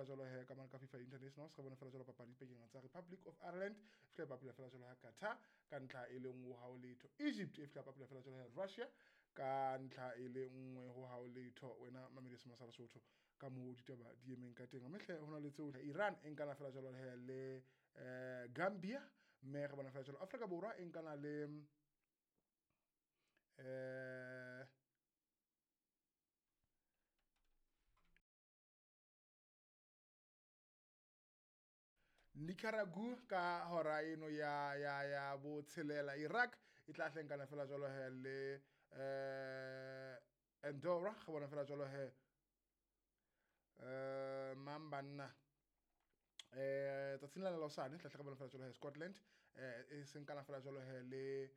fela jwalo he ka mane ka FIFA Internationals, re bona fela jwalo papadi pakeng tsa Republic of Ireland e fihla e bapala fela jwalo ha Qatar ka ntlha e le nngwe ha ho letho. Egypt e fihla bapala fela jwalo ha Russia ka ntlha e le nngwe ho ha ho letho. Wena mamedi sema sa Lesotho ka moo ditaba di emeng ka teng. Mme hle ho na le tseo Iran e nkana fela jwalo he le Gambia, mme re bona fela jwalo Afrika Borwa e nkana le Nicaragua ka hora eno ya botshelela. Iraq e tla hlenkana fela jwalo he le Andorra, re bona fela jwalo he mang banna tsatsing la hosane tla hle re bona fela jwalo he Scotland e senkana fela jwalo he le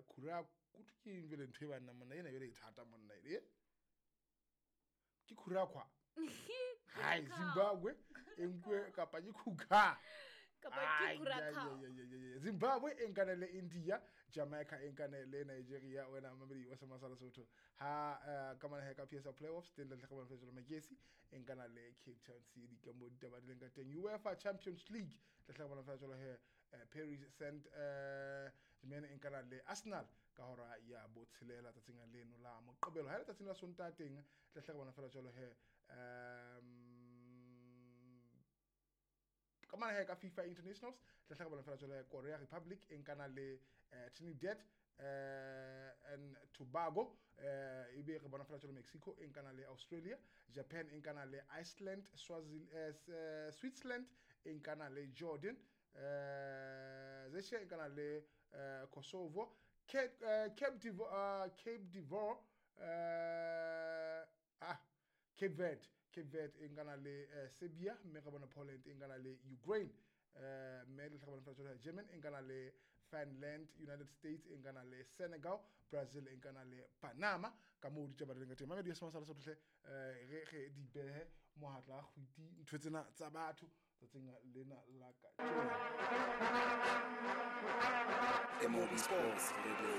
Curacao. Ke eng jwale ntho e banna monna ena jwale e thata monna e ke Curacao. Hai, Zimbabwe e nkwe kapa ke Kuka kapa ke Curacao. Zimbabwe e nkane le India, Jamaica e nkane le Nigeria. Wena mamedi wa sema sa Lesotho ha ka mane ka PSL playoffs teng le tle bona fela Magesi e nkana le Cape Town City ka mo ditaba di leng ka teng. UEFA Champions League tle tle bona fela he Paris Saint Germain e nkana le Arsenal ka hora ya botshelela tsatsing leno la Moqebelo. Ha le tsatsing la Sontaha teng tle tle bona fela jwalo he ka mane he ka FIFA Internationals tla hle re bona fela jwalo Korea Republic e nkana le Trinidad and Tobago, ebe re bona fela jwalo Mexico e nkana le Australia, Japan e nkana le Iceland, Switzerland e nkana le Jordan, Zeshe e nkana le Kosovo, Cape Verde, Cape Verde e nkana le Serbia, mme re bona Poland e nkana le Ukraine, mme le bona fela jwalo German e nkana le Finland, United States e nkana le Senegal, Brazil e nkana le Panama. Ka moo ditaba di leng ka teng. Mamedi ya sema sa Lesotho hle re di behe mohatla kgwiti ntho tsena tsa batho tsatsing lena la kajeno. MOB Sports Radio.